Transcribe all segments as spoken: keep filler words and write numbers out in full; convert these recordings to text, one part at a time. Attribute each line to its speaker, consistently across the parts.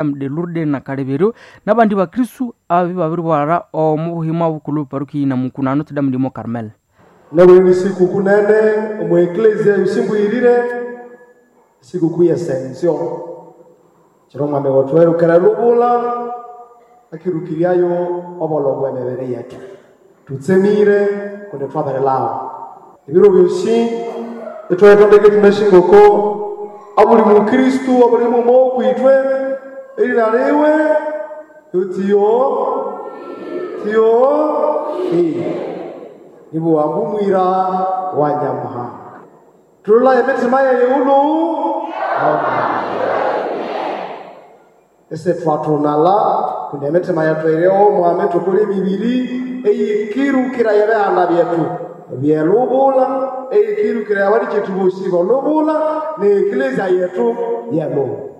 Speaker 1: De Lourdes na Kaleberyo n'abandi bakristu ababi babiribwalha omu buhima bukulhu paruki na Mukuna Notre Dame de Mont Carmel.
Speaker 2: Nabuli sikukuu nene omu eklezia yosimbwirire sikukuu y'Ascension kiro omwami wethu erukera lubula akirukiryayo obolho bw'emibiri yetu tutsemire kundi twabirilhawa ebiro byosi ithwayitondeka ithunashingoko abuli mukristu abuli muma okwithwe erina liwe yotiyo tiyo nibuwambu mwira wa Nyamuhanga tulula emitima yeyighulu ese twathunala kundi emitima yethu iriho mwami tukuli emibiri eyikirukira ebihanda byethu byelubula eyikirukira abalikyetu bosi bolubula neeklezia yethu yelubula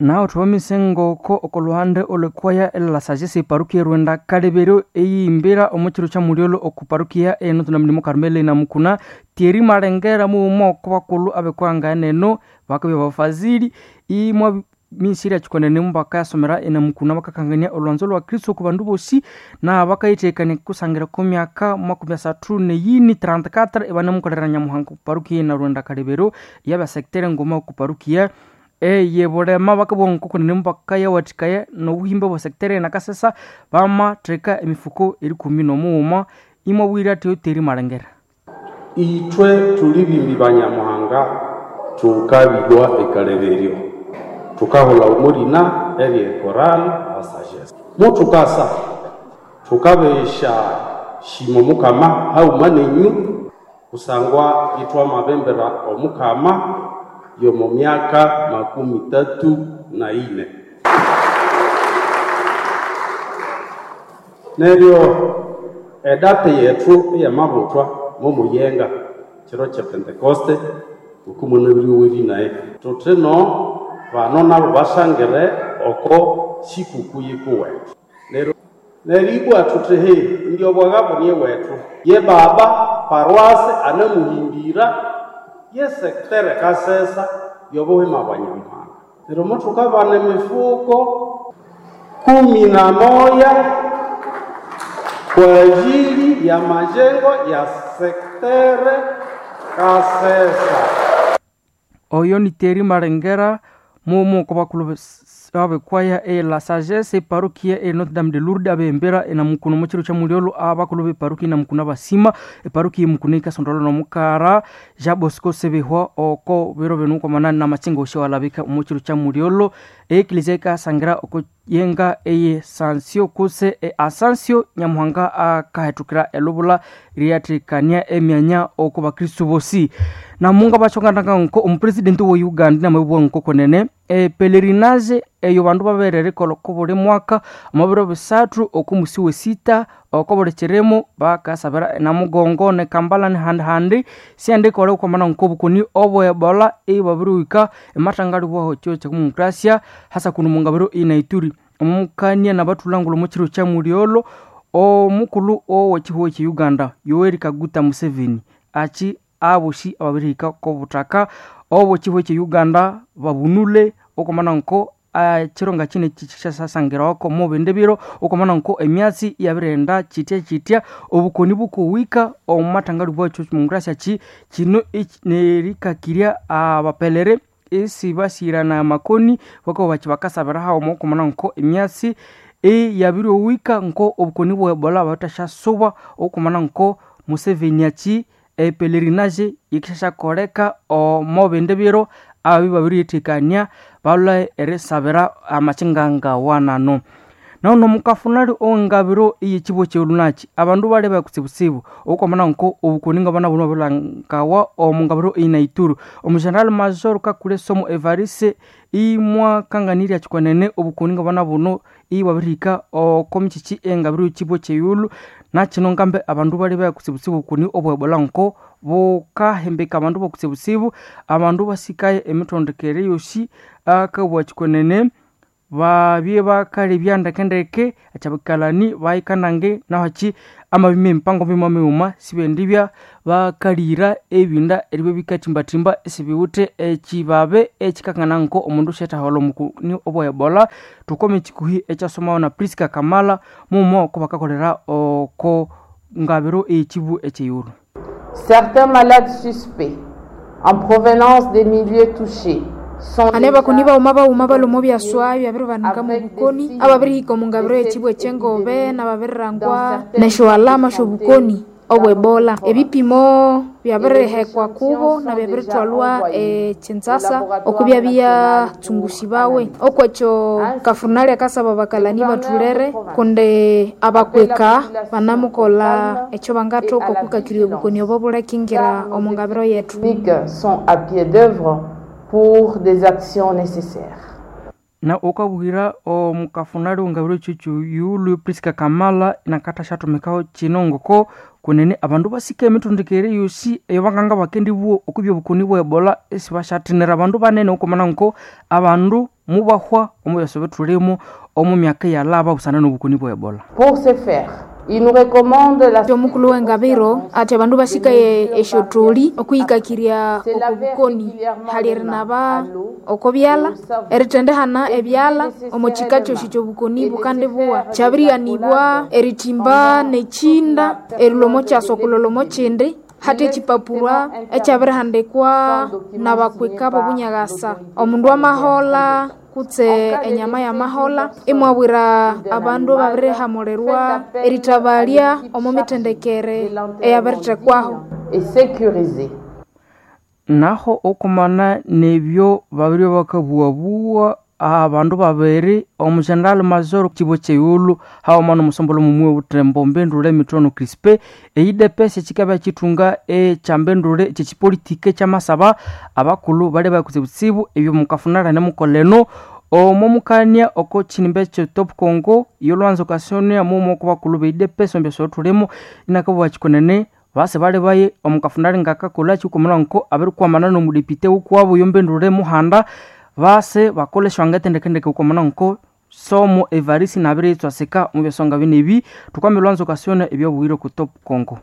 Speaker 1: Naho thubamise ngoko okoluhande olwekwaya elasagesa eparukia erwenda Kaleberyo eyihimbira omu kiro kya mulyolyo oku parukia e Notre Dame de Mont Carmel na Mukuna Thierry Malengera mughuma oko bakulhu abekwaya neno bakabya bafazili imwa misiri yakikonene mubakayasomera enamukuna bakakangania olwanzo lwa Kristo oku bandu bosi na bakayithekania kusangira ko myaka makumi asathu neyini trente-quatre ibanemukolera Nyamuhanga oku parukia na Rwenda Kaleberyo yabya secteur nguma oku parukia eye bulema bakabugha nkokunene mubakayawathikaya nobuhimba bwa secteur nakasesa bamatheka emifuko erikumi nomughuma imwabwira athi Thierry Malengera.
Speaker 3: Ithwe thuli bimbi ba Nyamuhanga thukabilwa ekaleberyo thukaholha omulina erye chorale la sagesse muthukasa thukabesha shima omukama haghuma nenyu kusangwa ithwamabembera omukama yomo myaka makumi tatu na ine neryo edate yethu eyamabuthwa momuyenga kiro kye Pentekoste okumunabiriweri naye thuthino bano nabo basangire oko sikuku yikuwethu neryo neribwa thuthi he indi obwagha ni wethu ye baba paroisse anamuhimbira ye secteur Kasesa yobuhima bwa Nyamuhanga neryo muthukabana emifuko kumi na moya kwa ajili ya majengo ya secteur Kasesa.
Speaker 1: Oyo ni Thierry Malengera mughuma oko bakulhu abekwaya e la sagesse eparukia e Notre Dame de Lourdes abembera enamukuna omu kiro kya mulyolyo abakulhu b'eparukia enamukuna basima eparukia emukuna ikasondolwa nomukara Jean Bosco Sebihwa oko biro binu kwamanani namakyenga osyo walabika omu kiro kya mulyolyo eklezia ikasangira oko yenga eye sansio kutse e asansio Nyamuhanga akahethukira elubula lyathekania emyanya oko bakristu bosi namunga bachongananga nko omupresidenti wa Uganda namabibwa nko konene e pelerinage eyo bandu baberere ko buli mwaka omubiro bisathu oko musi wesita oko buli kirimo bakasabira namugongo ne Kampala nehandi syandikole okwamana nko obukoni obwe Ebola ibabirihika emathangalibwaho kyo kyakumukrasia hasa kuno mungabiro inaituri omukania nabathulangula omu kiro kya mulyolyo omukulhu owekihugho kye Uganda Yoweri Kaguta Museveni achi abosi ababirihika kobuthaka obwekihugho kye Uganda babunule okwamana nko ekironga kino kyasasangirawo mubindi biro okwamana nko emyatsi iyabirighenda kitya kitya obukoni bukuwika omu mathangalibwa ekyo ki kino nerikakirya abapelere isibasirana amakoni bakabugha bathi bakasabira haghuma okwamana nko emyatsi iyabiriwika nko obukoni bwa Ebola buthasyasuba okwamana nko Museveni achi epelerinage yikisyakoleka omo bindi biro ababi babiriyithekania balwe erisabira amakinga ngawanano. Nahuno mukafunali owengabiro eyekibwa kyolunaki abandu baleba kutsibutsibu okwamana nko obukoni ngabana buno babilangawa omu ngabiro eyinaituru omugeneral major Kakule Somo Evariste imwakanganirya kikwenene obukoni ngabana buno ibwabirihika oko mikiki engabiro yekibwa kyeyulu nakino ngambe abandu baleba kutsibutsibu obukoni obwa Ebola nko bukahembeka abandu bokutsibutsibu abandu basikaye emithondekere yosi akabugha kikwenene Babye bakalebya ndekendeke achabikalani bayikanange naho achi amabime empango mima mighuma sibendibya bakalira ebinda eribya bikathimbathimba esibiwithe ekibabe ekikakana nko omundu syathaholha omukuni obwa Ebola. Tukome ekikuhi ekyasomawa na Priska Kamala mumo oko bakakolera oko ngabiro ekibu ekyeyuru.
Speaker 4: Certains malades suspects en provenance des milieux touchés
Speaker 5: ane bakoni bauma bauma balomo byaswa byabiribanika mu bukoni ababirihika omu ngabiro y'ekibu ekyengobe nababirirangwa nesyoalama syobukoni obwebola. Ebipimo byabirihekwa kubo na byabirithwalwa ekinzasa okubya byatsungusibwawe. Okwekyo kafunali akasaba bakalani bathulere kundi abakweka banamukolha ekyo bangathoka okwikakirya obukoni obo bulekingira omu ngabiro yethu.
Speaker 4: Sont à pied d'œuvre pour des actions nécessaires.
Speaker 1: Na ukabwira omukafunali wengabiro kyekyo yulu Priska Kamala nakatha syathumikaho kino ngoko kunene abandu basika emithondekere yosi eyo banganga bakendibwa okubya obukoni bwa Ebola esibashathinira abandu banene okumana nko abandu mubahwa omu byasa bithulimu omu myaka eyalaba busana n'obukoni bwa Ebola.
Speaker 4: Pour ce faire, il nous recommande la
Speaker 5: Omukulu w'engabiro ati abandu basikaye esyotholi okwihikakirya oko bukoni hali erinaba oko byalha erithendehana ebyalha omo kika kyosi kyobukoni bukandibuwa. Kyabirighanibwa erithimba nekyinda erilwa omo kyasa okulolha omo kyindi hati ekipapurwa ekyabirihandikwa nabakwika b'obunyaghasa. Omundu amaholha kutse enyama y'amaholha imwabwira abandu ababirihamulirwa erithabalya omo mithendekere eyabirithekwaho.
Speaker 4: Et sécurisé.
Speaker 1: Naho okumana nebyo babiri bakabuwabuwa abandu babiri omugeneral major kibo kyeyulu haoma nomusombolo mumwe butembo mbendule emitono Crispe eidepesi ekikabya kithunga ekyambendule ekyekipolitiki ekyamasaba abakulhu bali bakutsibutsibu ebyo mukafunala nemukoleno omo mukania oko kinimba ekyo Top Congo yolwanza okasonia mumo oko bakulhu beidepesi omu thulimo inakabuwa kikonene base bali baye omukafunali ngakakolha kikumunwa nko abirikwamana nomudepite wukuwabo yombendule muhanda base bakoleshwanga etendekendeke ukomana nko somo Evarisi nabiritswasika mu byasonga binebi tukwame lwanzo kasiona ebyobuwire ku Top Congo.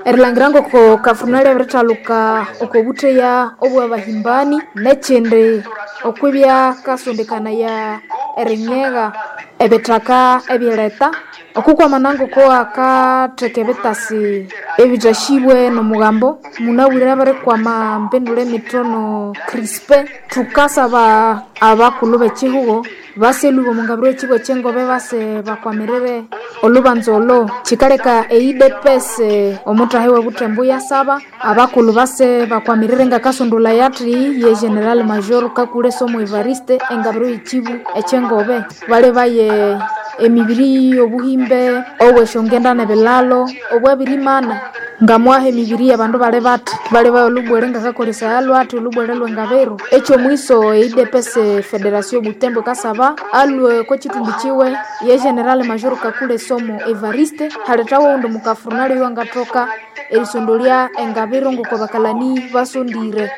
Speaker 5: Erilangira ngoko kafunali abirithaluka oko butheya obwabahimbani nekyindi okwibya kasondekanaya erinyegha ebithaka ebyereta okukwamana ngoko akatheka ebitasi ebithashibwe nomugambo munabwire abirikwama mpendula emitono Crispe. Thukasaba abakulhu b'ekihugo baselhuba omu ngabiro y'ekibuga ekyengobe base bakwamirire olubanza olo. Kikaleka eidepese omuthahi w'obuthembo yasaba abakulhu base bakwamirire ngakasondolha yathi ye General Major Kakule Somo Evariste engabiro y'ekibu ekyengobe bali baye emibiri y'obuhimbe obw'esyongenda n'ebilalo obwabirimana ngamwaha emibiri y'abandu bali bathi bali baye olubwere ngakakolesaya lwathi olubwere lw'engabiro. Ekyomwiso eidepese Federation Butembo kasaba alwe kwekithumbi kiwe ye General Major Kakule Somo Evariste halethawo owundi mukafurunali owangathoka erisondolya engabiro ngoko bakalani basondire.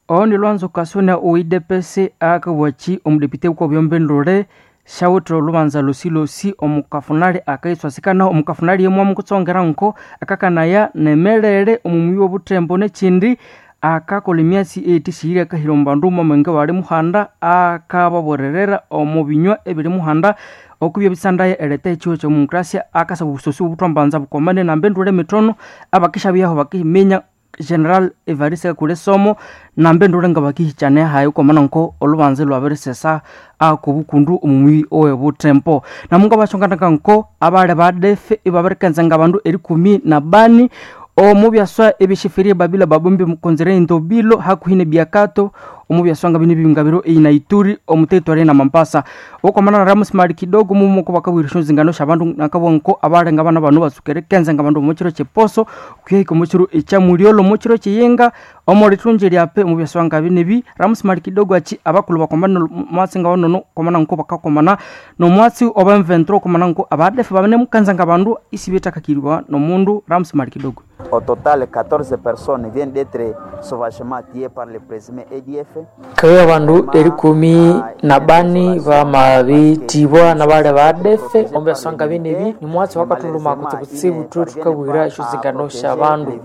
Speaker 1: Oho ni lwanzo kasonia oidepese akabwaki omudepite wukwa syawithe olubanza losilosi omukafunali akayitswasikanaho omukafunali yemwa mukutsongera nko akakanaya nemelere omumuyi w'obuthembo nekyindi akakola emyatsi eyithisyire akahira omu bandu mwamwenge bali muhanda akababorerera omu binywa ebiri muhanda okubya ebisandaya eretha ekiho ky'omokrasia akasaba obusosi obuthwambanza bukomane nambendule emitono abakishabyaho bakiminya General Evariste Kakule Somo nambendule nga bakihikyane hayi ukwamana nko olubanza lwabirisesa akobukundu omumuyi owebuthembo namunga bashonganaka nko abali badefe ibabirikenza nga bandu erikumi na bani omu byaswa ebishifirie babila babumbi mukonzere indobilo hakuhi ne biakato omu byaswanga bino bingabiro eyina Ituri omu territory na Mambasa okomana na Ramos Mali kidogo mumo ko bakabwira nzingano sha bandu nakabonko abalenga bana bano basukere kenza nga bandu mukiro kyeposo kuyahika omukiro ekyamulyolo mukiro kyeyenga omulithunji lyape mu byaswanga binebi Ramos Mali kidogo achi abakulu bakomana mwatsi nga banono komana nko bakakomana nomwatsi oba mventro komana nko abadefu babane mukanza nga bandu isi betakakirwa nomundu Ramos Mali kidogo.
Speaker 6: Au total, quatorze personnes viennent d'être sauvagement tuées par le présumé A D F.
Speaker 7: Kawe abandu erikumi na bani bamabitibwa na bale ba A D F omu byaswanga binebi ni mwatsi wakathuluma kutsibutsibu thu thukabwira esyozingano sya bandu.